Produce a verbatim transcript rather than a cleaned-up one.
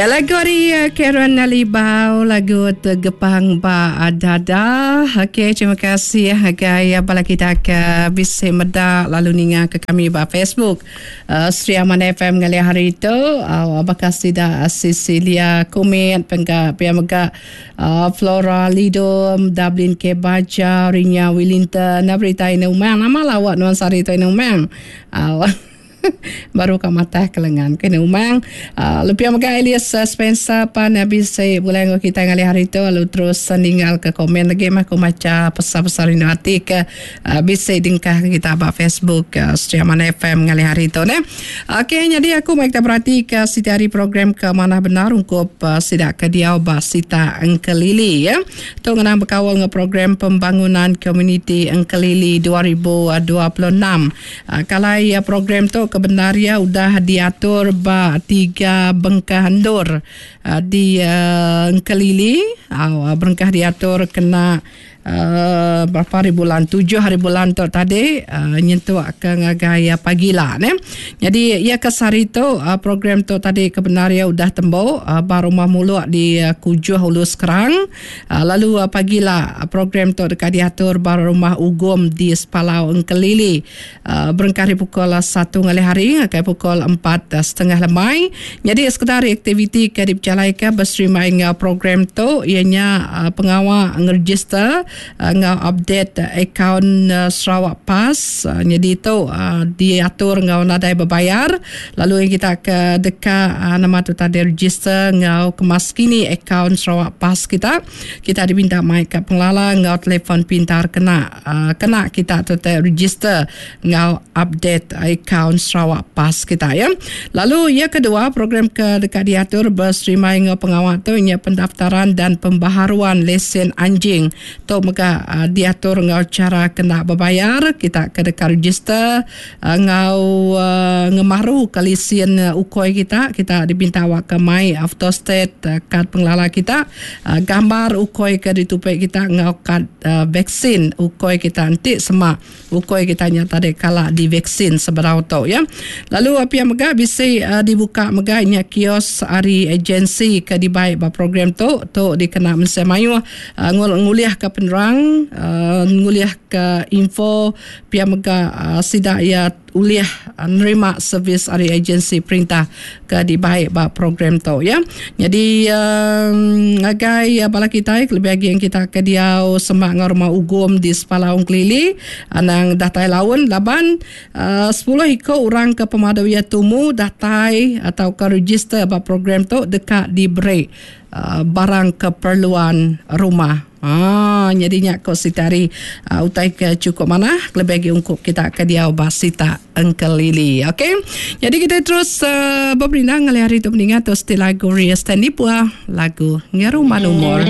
Ya, lagu ari uh, Karen Libau, lagu Tegepang Ba Dada. Okey, terima kasih agai bala kita ke bisi meda lalu ninga ke kami ba Facebook uh, Sri Aman F M ngalih hari tu. Uh, baka sida Cecilia Kumit pengga pia mega uh, Flora Lidom, Dublin K Baja, Rinya Wellington, berita ini umang nama lawak nuan sari tu ini umang. Uh, baru ka matah kelengan kena umang uh, lebih mega Elias Spencer pan bisi bulan kita ngalih hari tu lalu terus ninggal ke komen lagi mah aku maca pesan-pesan rindu hati ke uh, bisi dingkah kita ba Facebook uh, Sri Aman F M ngalih hari tu ne. Okey, jadi aku mai kita berhati ke siti hari program ke mana benar ungkup uh, sidak ke diau ba Sita Engkelili ya. Tu ngenang berkawal dengan program pembangunan komuniti Engkelili dua ribu dua puluh enam. Uh, kalau ya program tu kebenaria udah diatur ba tiga bengkah endur uh, di uh, Engkelili uh, berengkah diatur kena uh, berapa hari bulan tujuh hari bulan tu tadi uh, nyentuk ke ngagai uh, pagi lah ne. Jadi ia ke sehari tu uh, program tu tadi kebenaria udah tembo uh, ba rumah muluk di uh, Kujuh Hulu Sekerang uh, lalu uh, pagi lah program tu dekat diatur ba rumah Ugom di Sepalau Engkelili uh, berengkah di pukul satu ngalih hari ke pukul empat setengah lemai. Jadi sekedar aktiviti ke diperjalaikan berserima dengan program tu ianya uh, pengawal ngeregister uh, ngau update uh, akaun uh, Sarawak Pass. Uh, jadi tu uh, diatur ngau nadai berbayar. Lalu yang kita ke dekat uh, nama tu tadi register ngau kemas kini akaun Sarawak Pass kita. Kita diminta mai ke pengelala ngau telefon pintar kena uh, kena kita tu register ngau update akaun Sarawak Pass kita ya. Lalu yang kedua program ke dekat diatur berserima ngau pengawal tu nya pendaftaran dan pembaharuan lesen anjing. Tu mega uh, diatur ngau cara kena berbayar. Kita ke dekat register uh, ngau uh, ngemaru ke lesen uh, ukoi kita. Kita diminta awak ke mai autostate uh, kad pengelala kita, uh, gambar ukoi ke ditupek kita ngau kad uh, vaksin ukoi kita nanti semak ukoi kita nya tadi kala divaksin seberau tu ya. Lalu apa yang mega bisi uh, dibuka mega nya kios ari agensi ke dibaik ba program tu tu dikena mensia mayuh uh, nguliah ke penerang uh, nguliah ke info pia mega uh, sidak ya uliah uh, nerima servis ari agensi perintah ke dibaik ba program tu ya. Jadi um, agai uh, bala kita lebih lagi yang kita ke diau semak ngau rumah Ugom di Sepalau Engkelili anang datai laun laban uh, sepuluh iko orang ke pemadu ya tumu datai atau ke register ba program tu dekat diberi uh, barang keperluan rumah. Ah, jadinya kau sitari uh, utai ke cukup mana lebih lagi ungkup kita ke dia basita Engkelili. Okey. Jadi kita terus uh, berperindang ngalih hari tu mendengar tu still lagu Ria Stanley Pua, lagu Ngeruman Umur.